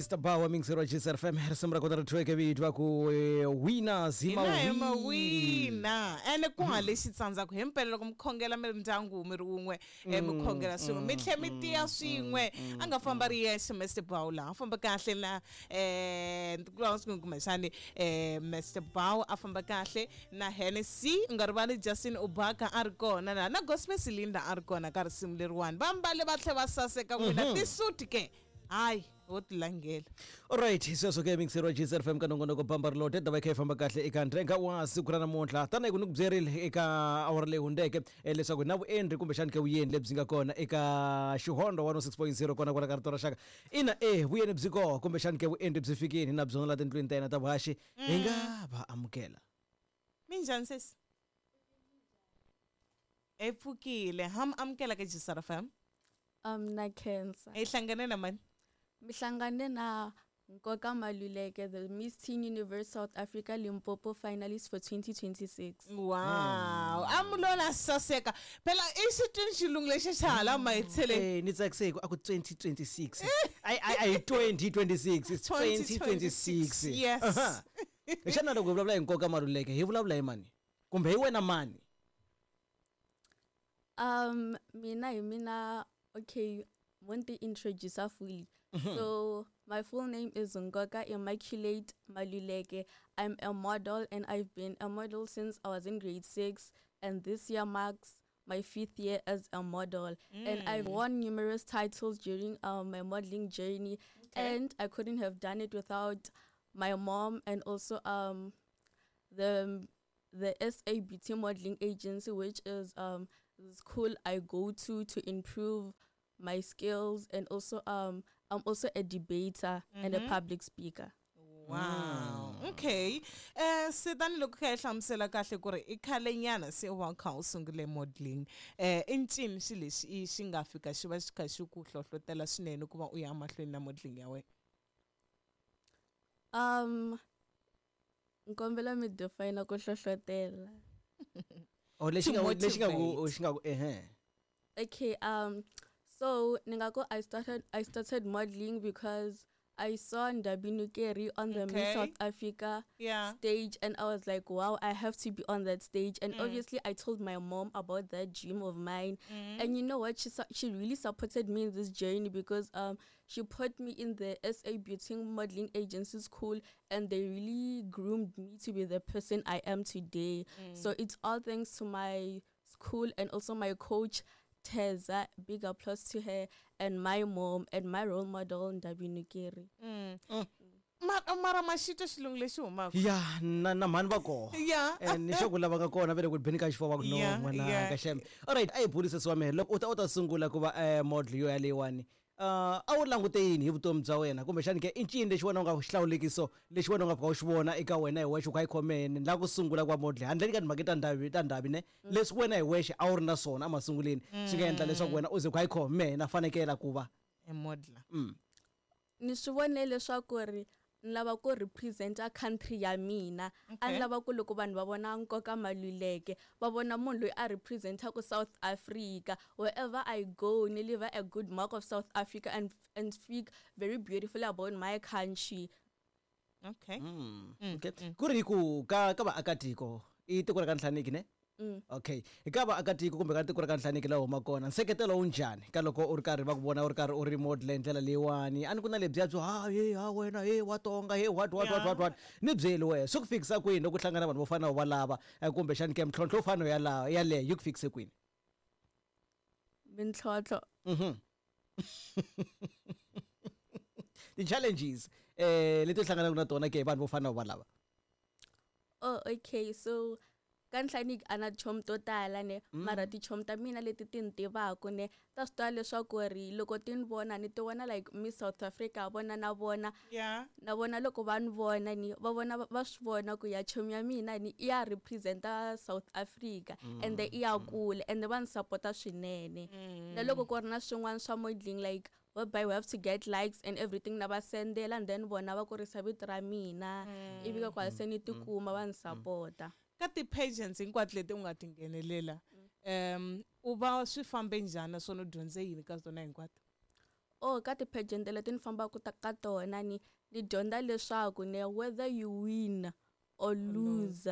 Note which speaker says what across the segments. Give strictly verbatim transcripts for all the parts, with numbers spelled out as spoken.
Speaker 1: Mister Bawa mixer wa G S R F M, risimu ra kona ri thyiweke vito va ku eh, Winners. Hi
Speaker 2: Hina hi
Speaker 1: mawini.
Speaker 2: Mawina ene ku nga lexi tsandzaka hi mpela loko mi khongela mi ri ndyangu, mi ri wun'we, eh, mi khongela swin'we, mi tlhe mi tiya swin'we. A nga famba ri yexe Mister Bow laha, a famba kahle na eh kumbexani eh Mister Bow a famba kahle na Hennessy. U nga rivali Justin Ubaka a ri kona na na Gospel Silinda a ri kona ka risimu leriwani. Va mbale va tlhe va saseka n'wina tisuti ke, hayi wo ti langela.
Speaker 1: Alright, sweswo ke mixer wa G S R F M ka nongonoko Bamba Rilode ta va yi kha yi famba kahle eka ndrenga wa siku ra namuntlha. Tanihi ku ni ku byerile eka awara leyi hundzeke eh, leswaku na vuendri kumbexani ke vuyeni lebyi nga kona eka Xihondo one oh six point zero kona kwala ka rito ra xaka. Ina, e vuyeni byi koho kumbexani ke vuendri byi fikini na byona la tindlwini ta yena ta vuhaxi, hi nga va amukela.
Speaker 2: Minjhani sesi? E pfukile. Ha mi amukela ka G S R F M.
Speaker 3: Um na khensa.
Speaker 2: Hi hlangane na mani?
Speaker 3: Mi hlangane na Nkoka Maluleke, the Miss Teen Universe South Africa Limpopo finalist for twenty twenty-six.
Speaker 2: Wow, amulona saseka phela i xitwini xilungu lexi xa hala mahetsheleni.
Speaker 1: Eh, ni tsakise ku a ku twenty twenty-six, ai ai ai twenty twenty-six, it's twenty twenty-six.
Speaker 2: Yes.
Speaker 1: Aha. Xana loko hi vulavula hi Nkoka Maluleke, hi vulavula hi mani kumbe hi wena mani?
Speaker 3: Um mina hi mina, okay, want to introduce her fully. So my full name is Nkoka Immaculate Maluleke. I'm a model and I've been a model since I was in grade six, and this year marks my fifth year as a model. And I've won numerous titles during um, my modeling journey, and I couldn't have done it without my mom and also um the the S A B T modeling agency, which is um the school I go to to improve my skills, and also um I'm also a debater and a public speaker.
Speaker 2: Wow, okay, eh se tanihiloko kha hi hlamusela kahle ku ri i khale nyana se wa kha u sungule modeling, eh i ncini xi lexi i xi nga fika xi va xi kha xi ku hlohlotela swinene ku va u ya mahlweni na modeling ya wena?
Speaker 3: Um nkombela mi define ku hlohlotela.
Speaker 1: Oh, lexi nga lexi nga ku
Speaker 2: Motivate.
Speaker 1: Xi nga ku ehe.
Speaker 3: Okay, um so ningako I started I started modeling because I saw Ndabi Nukeri on the
Speaker 2: Okay.
Speaker 3: Miss South Africa
Speaker 2: Yeah.
Speaker 3: stage, and I was like, "Wow, I have to be on that stage." And obviously I told my mom about that dream of mine. And you know what? She su- she really supported me in this journey because um she put me in the S A Beauty Modeling Agency school, and they really groomed me to be the person I am today. So it's all thanks to my school and also my coach Teza, big applause to her, and my mom and my role model Ndabi Nukeri.
Speaker 2: Mara mara maxito xilungu lexi humaka.
Speaker 1: Ya, na na mhani va koho.
Speaker 2: Ya.
Speaker 1: Eh, ni xo ku lava nga kona ve le ku beni ka xifuva va ku no.
Speaker 2: Yeah,
Speaker 1: N'wana
Speaker 2: yeah.
Speaker 1: ka xem. Alright, a hi bulise wa mehe loko u ta u ta sungula ku va eh, model yo yaleyiwani, uh, a wu langute yini hi vutomi bya wena kumbexani ke i ncini lexi wena u nga xihlawulekiso lexi wena u nga fika u xi vona eka wena hi wexe u kha yi khomene la ku sungula ku va model, handleni ka timhaka ta ndhavi ta ndhavi ne leswi wena hi wexe a wu ri na swona emasunguleni swi nga endla leswaku wena u ze ku kha yi khome na fanekela ku va
Speaker 2: E modeler?
Speaker 1: mm.
Speaker 3: Ni swi vonile leswaku ri ni lava ku representa country ya mina. A
Speaker 2: Okay.
Speaker 3: ni lava ku loko vanhu va vona Nkoka Maluleke, va vona munhu loyi a representaku South Africa. Wherever I go, ni leave a good mark of South Africa and, and speak very beautifully about my country.
Speaker 2: Okay.
Speaker 1: Mm. Okay, ku ri ku ka ka vaakatiko i tiko ra ka Nhlaniki ne?
Speaker 3: Mm.
Speaker 1: Okay, ka vaakatiko kumbe ka tiko ra ka Nhlaniki laha huma kona, nseketelo wu njhani ka loko u ri karhi va ku vona u ri karhi u ri model hi ndlela leyiwani? A ni ku na lebyiya byo ha he ha wena he wa tonga he what what what what what. Ni byeli wehe, swi ku fikisa kwini loko u hlangana na vanhu vo fana na va lava, eh, kumbexani ke mintlhontlho yo fana yalayo yaleyo yi ku fikise kwini?
Speaker 3: Mintlhontlho?
Speaker 1: Mhm, ti-challenges eh leti u hlanganaka na tona ke hi vanhu vo fana na va lava.
Speaker 3: Oh, okay, so ka Nhlaniki a na tichomi to tala ne, mara tichomi ta mina leti ti ni tivaku ne ta swi tiva leswaku ri loko ti ni vona ni ti vona like Miss South Africa vona na vona.
Speaker 2: Yeah.
Speaker 3: Na vona loko va ni vona ni va vona va swi vona ku ya chomi ya mina ni i ya representa South Africa ende i ya kule, ende va ni sapota swinene. Na loko ku ri na swin'wana swa modeling, like whereby we have to get likes and everything, na va sendela and then vona va kurisa vito ra mina, ivi ka kwala se ni tikuma va ni sapota.
Speaker 2: Ka ti-pageants hinkwato leti u nga ti nghenelela, um u va swi fambe njhani naswona u dyondze yini ka tona hinkwato?
Speaker 3: oh ka ti-pageant leti ni fambaka ta ka tona ni ni dyondza leswaku ne whether you win or lose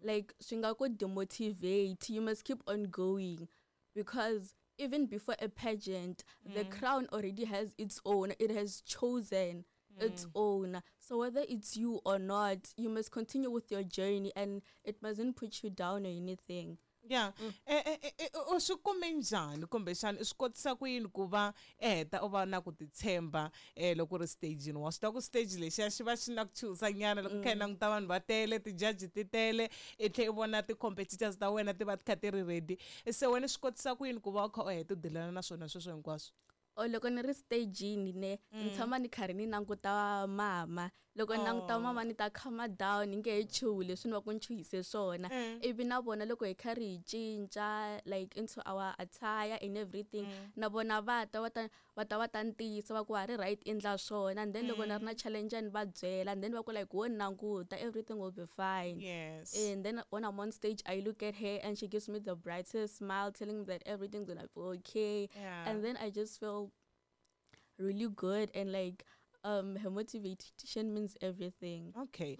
Speaker 3: like swi nga ku demotivate you must keep on going because even before a pageant the crown already has its own it has chosen its own so whether it's you or not you must continue with your journey and it mustn't put you down or anything
Speaker 2: ya Eh, eh, eh, eh, u swi kume njhani kumbexana i swi kotisa ku yini ku va i heta u va na ku titshemba um loko u ri stagini wa swi tiva ku stage lexiya xi va xi na ku chuhisa nyana loko kha i languta vanhu va tele ti-judge ti tele i tlhe i vona ti-competitors ta wena ti va ti kha ti ri ready se wena i swi kotisa ku yini ku va u kha u heta u dilana na swona sweswo hinkwaswo
Speaker 3: or loko ni ri stagini ne ni tshama ni karhi ni languta mama loko ni languta mama ni ta calm down ni nge he chuhi leswi ni va ku ni chuhise swona ivi na vona loko hi karhi hi cinca like into our attire and everything na vona va ta va ta va ta va ta ni tiyisa va ku ha ri right endla swona and then loko ni ri na challenge ni va byela and then va ku like wo ni languta everything will be fine
Speaker 2: yes
Speaker 3: and then when I'm on stage, I look at her and she gives me the brightest smile, telling me that everything's gonna be okay.
Speaker 2: Yeah.
Speaker 3: And then I just feel really good and like um her motivation means everything.
Speaker 2: okay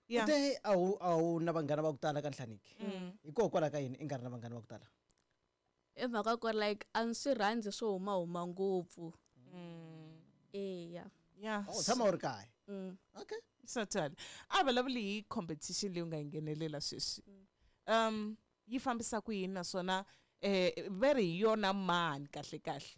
Speaker 2: yeah
Speaker 1: te a wu a wu na vanghana va ku tala ka nhlaniki hikokwalaho ka yini i nga ri na vanghana va ku tala
Speaker 3: I mhaka ku ri like a ni swi rhandzi swo humahuma ngopfu. Eya.
Speaker 2: yeah
Speaker 1: u tshama u ri kaya
Speaker 3: Mm.
Speaker 1: okay
Speaker 2: certainly a vulavuli hi competition leyi u nga yi nghenelela sweswi um yi fambisa ku yini naswona eh ve ri hi yona mani kahle kahle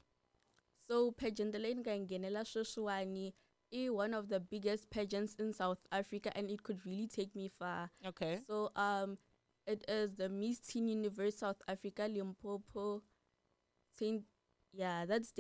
Speaker 3: So pageant leyi ni nga yi nghenela sweswiwani i one of the biggest pageants in South Africa and it could really take me far.
Speaker 2: okay
Speaker 3: So um, it is the Miss Teen Universe South Africa Limpopo. Teen, yeah, that's the